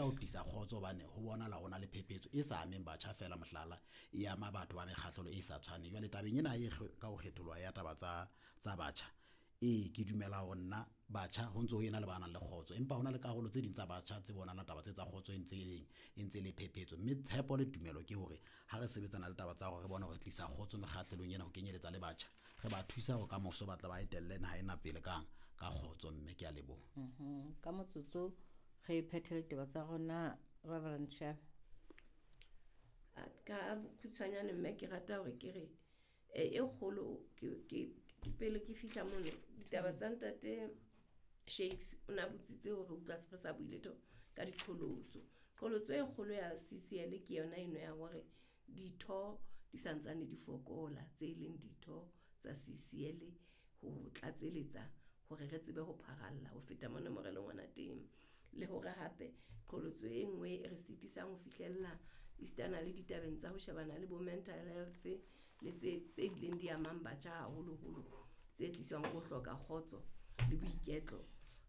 leka ho tlisa kgotso hobane ho bonahala ho na le phephetso e sa ameng batjha feela, mohlala e ama batho ba mekgahlelo e sa tshwaneng. Jwale tabeng ena e ka ho kgetholoha ya taba tsa batjha, ee, ke dumela hore nna batjha ho ntso ho ena le ba nang le kgotso, empa hona le karolo tse ding tsa batjha tse bonahalang taba tse tsa kgotso e ntse e leng e ntse le phephetso. Mme tshepo le tumelo ke hore ha re sebetsana le taba tsa hore re bone hore re tlisa kgotso mekgahlelong ena ho kenyeletsa le batjha, re ba thusa hore kamoso ba tle ba etelle naha ena pele ka kgotso. Mme ke a leboha. Ka motsotso re phethele ditaba tsa rona, Reverend Shabe. Ka bokhutshwanyane mme ke rata hore ke re e kgolo ke pele ke fihla mono ditaba tsa ntate Shakes o na botsitse hore utlwa se re sa bue letho ka diqholotso. Qholotso e kgolo ya CCL ke yona eno ya hore ditho di santsane di fokola tse leng ditho tsa CCL ho tlatseletsa hore re tsebe ho pharalla ho feta mona mo re leng hona teng. Le hore hape qholotso e nngwe e re sitisang ho fihlella esitana le ditabeng tsa ho shebana le bo mental health le tse bileng di amang batjha haholoholo tse tliswang ke ho hloka kgotso le boiketlo,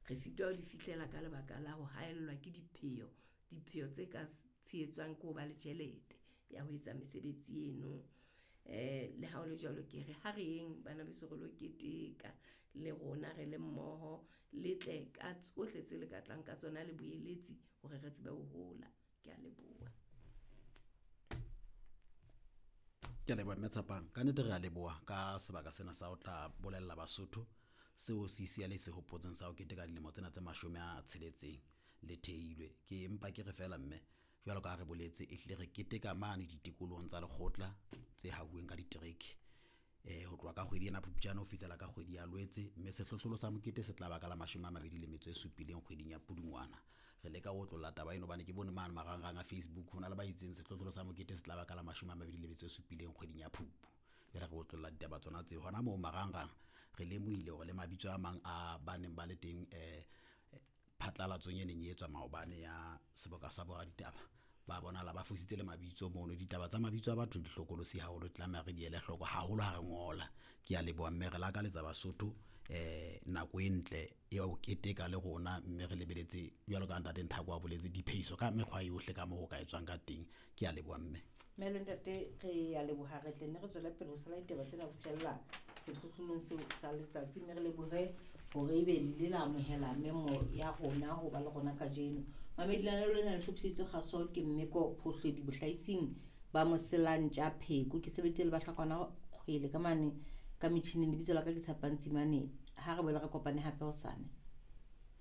re sitwa ho di fihlela ka lebaka la ho haellwa ke dipheo, dipheo tse ka tshehetswang ke ho ba le tjhelete ya ho etsa mesebetsi eno. Le ha ho le jwalo, ke re ha re yeng bana beso re lo keteka le rona re le mmoho, le tle ka tsohle tse le ka tlang ka tsona le boeletsi hore re tsebe ho hola. Ke a leboha. Ke a leboha mme Tshepang. Ka nnete re a leboha ka sebaka sena sa ho tla bolella Basotho seo CCL e se hopotseng sa ho keteka dilemo tsena tse 60 le theilwe. Ke empa ke re feela mme jwalo ka ha re boletse, e hlile re keteka mane ditikolohong tsa lekgotla tse hauweng ka ditereke ho tloha ka kgwedi ena Phupjane ho fihlela ka kgwedi ya Lwetse, mme sehlohlolo sa mokete se tla ba ka la 27 kgweding ya Pudungwana. Re leka ho otlolla taba eno hobane ke bone mane marangrang a Facebook hona le ba itseng sehlohlolo sa mokete se tla ba ka la 27 kgweding ya Phupu. Jwale re otlolla ditaba tsona tseo hona moo marangrang. Re lemohile hore le mabitso a mang a ba neng ba le teng phatlalatsong e neng e etswa maobane ya seboka sa boraditaba, ba bonahala ba fositse le mabitso mono. Ditaba tsa mabitso a batho di hlokolosi haholo, tlameha re di ele hloko haholo ha re ngola. Ke a leboha mme re lakaletsa Basotho nako e ntle ya ho keteka le rona, mme re lebeletse jwalo ka ntate Nthako a boletse diphehiso ka mekgwa yohle ka moo ho ka etswang ka teng. Ke a leboha mme. Mme le ntate re a leboha, re tle nne re tswele pele ho sala ditaba tsena ho fihlella sehlohlolong seo sa letsatsi, mme re lebohe hore ebe le ile la amohela memo ya rona ho ba le rona kajeno. Mamedi lenaneo lena le hlophiseditswe kgaso ke Mmeko Phohledi bohlaising ba Moselantja Pheko. Ke sebeditse le bahlakwana kgwele ka mane ka metjhining. Lebitso la ka ke Tshepang Tsimane. Ha re boele re kopane hape hosane.